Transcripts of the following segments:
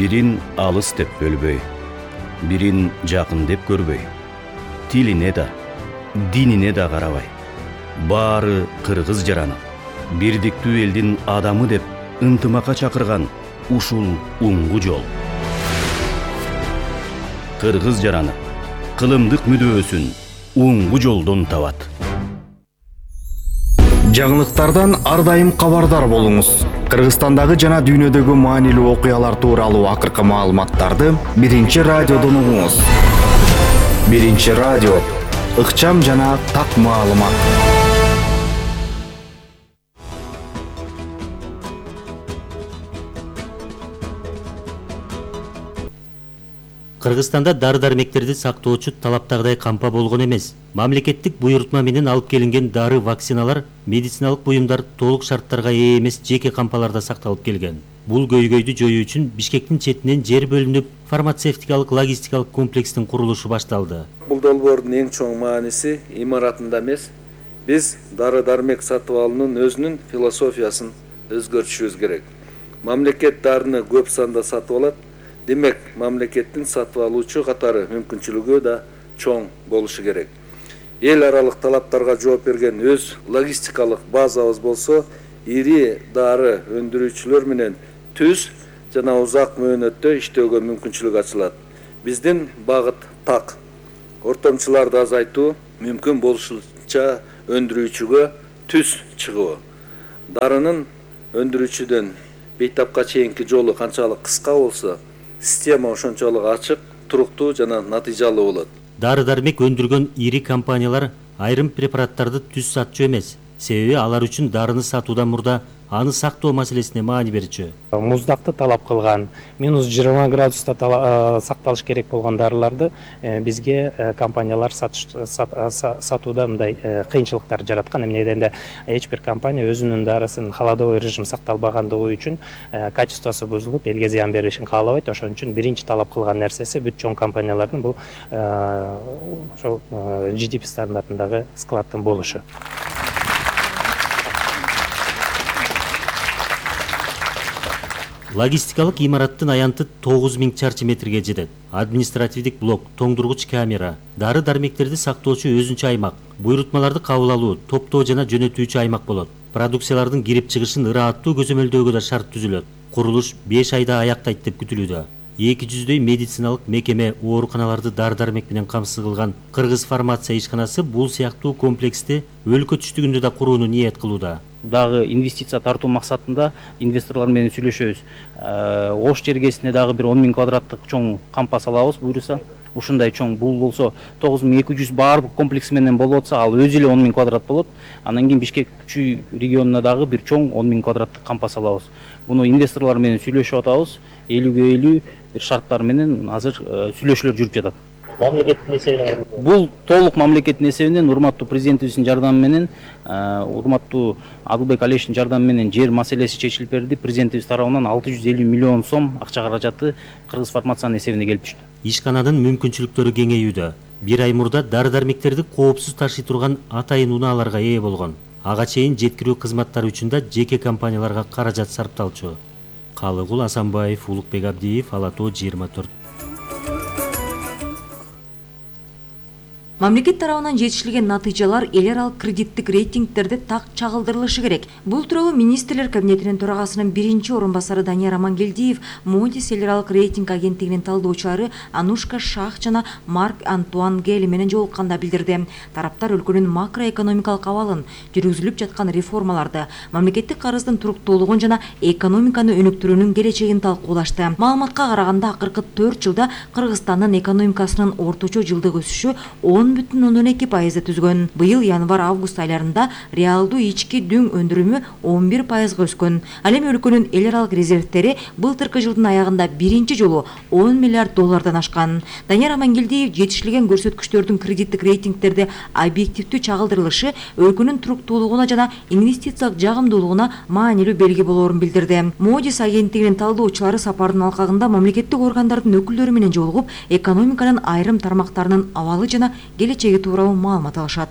Бирин алыс деп бөлбөй, бирин жакын деп көрбөй, тилине да, динине да карабай, баары кыргыз жараны, бирдиктүү элдин адамы деп ынтымакка чакырган ушул уңгу жол. Кыргыз жараны кылымдык мүдөөсүн уңгу жолдон табат. Жаңылыктардан ар дайым кабардар болуңуз. Кыргызстандагы жана дүйнөдөгү маанилүү окуялар тууралуу акыркы маалыматтарды Биринчи радиодон угуңуз. Биринчи радио, ыкчам жана так маалымат. Кыргызстанда дары-дармектерди сактоочу талаптагыдай кампа болгон эмес. Мамлекеттик буйрутма менен алып келинген дары, вакциналар, медициналык буюмдар толук шарттарга ээ эмес жеке кампаларда сакталып келген. Бул көйгөйдү жоюу үчүн Бишкектин четинен жер бөлүнүп, фармацевтикалык логистикалык комплекстин курулушу башталды. Бул долбоордун эң чоң мааниси имаратында эмес, биз дары-дармек сатып алуунун өзүнүн философиясын өзгөртүшүбүз керек. Мамлекет дарыны көп санда сатып алат. Демек, мамлекеттин сатып алуучу катары мүмкүнчүлүгү да чоң болушу керек. Эл аралык талаптарга жооп берген өз логистикалык базабыз болсо, ири дары өндүрүүчүлөр менен түз жана узак мөөнөттө иштөөгө мүмкүнчүлүк ачылат. Биздин багыт так. Ортомчуларды азайтуу, мүмкүн болушунча өндүрүүчүгө түз чыгуу. Дарынын өндүрүүчүдөн бейтапка чейинки жолу канчалык кыска болсо, система ошончолук ачык, туруктуу жана натыйжалуу болот. Дары-дармек өндүргөн ири компаниялар айрым препараттарды түз сатчу эмес. Себеби алар үчүн дарыны сатуудан мурда аны сактоо маселесине маани берчү. Муздакты талап кылган, -20 градуста сакталыш керек болгон дарыларды бизге компаниялар сатууда мындай кыйынчылыктар жараткан. Эмне дегенде эч бир компания өзүнүн дарысын холодовой режим сакталбагандыгы үчүн качествосу бузулуп, элге зыян беришин каалабайт. Ошон үчүн биринчи талап кылган нерсеси бүт чоң компаниялардын бул ошол GDP стандартындагы складдын болушу. Логистикалык имараттын аянты 9000 чарчы метрге жетет. Административдик блок, тоңдургуч камера, дары-дармектерди сактоочу өзүнчө аймак, буйрутмаларды кабыл алуу, топтоо жана жөнөтүүчү аймак болот. Продукциялардын кирип чыгышын ырааттуу көзөмөлдөөгө да шарт түзүлөт. Курулуш 5 айда аяктайт деп күтүлүүдө. 200 медициналык мекеме, ооруканаларды дары-дармек менен камсыз кылган Кыргыз фармация ишканасы бул сыяктуу комплексти өлкө түштүгүндө да курууну ниет кылууда. Дагы инвестиция тартуу максатында инвесторлор менен сүйлөшөбүз. Ош жергесине дагы бир 10 000 квадраттык чоң кампа салабыз буюрса. Ушундай чоң бул болсо 9200 баардык комплекс менен болуп атса, ал өзү эле 10 000 квадрат болот. Андан кийин Бишкек күчү регионуна дагы бир чоң 10 000 квадраттык кампа салабыз. Буну инвесторлор менен сүйлөшүп атабыз. 50/50 бир шарттар менен азыр сүйлөшүүлөр жүрүп жатат. Мамлекеттин эсебинен. Бул толук мамлекеттин эсебинен, урматтуу президентибиздин жардамы менен, урматтуу Адылбек Алиевичтин жардамы менен жер маселеси чечилип берди. Президентибиз тарабынан 650 миллион сом акча каражаты Кыргыз фармациянын эсебине келип түштү. Ишкананын мүмкүнчүлүктөрү кеңейүүдө. Бир ай мурда дары-дармектерди коопсуз ташый турган атайын унааларга ээ болгон. Ага чейин жеткирүү кызматтары үчүн да жеке компанияларга каражат сарпталчу. Калыгул Асанбаев, Улукбек Абдиев, Ала Тоо 24. Мамлекет тарабынан жетишилген натыйжалар эл аралык кредиттик рейтингтерде так чагылдырылышы керек. Бул тууралуу министрлер кабинетинин төрагасынын биринчи орун басары Данияр Амангелдиев Moody's эл аралык рейтинг агенттигинин талдоочулары Анушка Шах жана Марк Антуан Гели менен жолукканда билдирди. Тараптар өлкөнүн макроэкономикалык абалын, жүргүзүлүп жаткан реформаларды, мамлекеттик карыздын туруктуулугун жана экономиканы өнүктүрүүнүн келечегин талкуулашты. Маалыматка караганда акыркы 4 жылда Кыргызстандын экономикасынын орточо жылдык өсүшү 10,2% түзгөн. Быйыл январь-август айларында реалдуу ички дүң өндүрүмү 11%га өскөн. Ал эми өлкөнүн эл аралык резервтери былтыркы жылдын аягында биринчи жолу $10 миллиард ашкан. Данияр Амангелдиев жетишилген көрсөткүчтөрдүн кредиттик рейтингтерде объективдүү чагылдырылышы өлкөнүн туруктуулугуна жана инвестициялык жагымдуулугуна маанилүү белги болоорун билдирди. Moody's агенттигинин талдоочулары сапардын алкагында мамлекеттик органдардын өкүлдөрү менен жолугуп, экономиканын айрым тармактарынын абалы жана келечеги тууралуу маалымат алышат.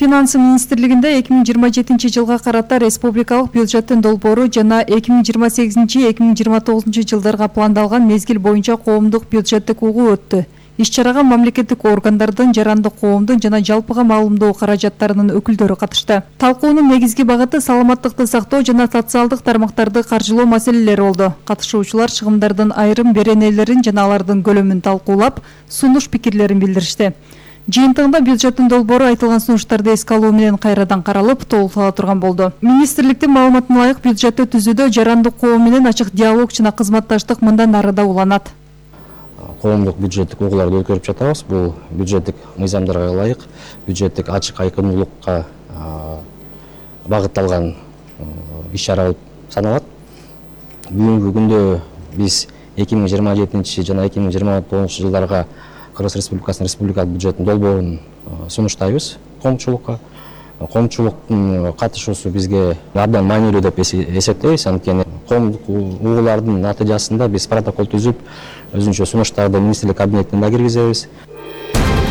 Финансы министрлигинде 2027 жылга карата республикалык бюджеттин долбоору жана 2028-2029 жылдарга пландалган мезгил боюнча коомдук бюджеттик угуу өттү. Иш-чарага мамлекеттик органдардын, жарандык коомдун жана жалпыга маалымдоо каражаттарынын өкүлдөрү катышты. Талкуунун негизги багыты саламаттыкты сактоо жана социалдык тармактарды каржылоо маселелери болду. Катышуучулар чыгымдардын айрым беренелерин жана алардын көлөмүн талкуулап, сунуш пикирлерин билдиришти. Жыйынтыгында бюджеттин долбоору айтылган сунуштарды эске алуу менен кайрадан каралып, толуктала турган болду. Министрликтин маалыматына ылайык бюджетти түзүүдө жарандык коом менен ачык диалог жана кызматташтык мындан ары да уланат. Коомдук бюджеттик угууларды өткөрүп жатабыз. Бул бюджеттик мыйзамдарга ылайык бюджеттик ачык айкындуулукка багытталган иш-чара болуп саналат. Бүгүнкү күндө биз 2027 жана 2029 жылдарга Кыргыз Республикасынын республикалык бюджеттин долбоорун сунуштайбыз коомчулукка. Коомчулуктун катышуусу бизге абдан маанилүү деп эсептейбиз. Анткени коомдук угуулардын натыйжасында биз протокол түзүп, өзүнчө сунуштарды министрлик кабинетине да киргизебиз.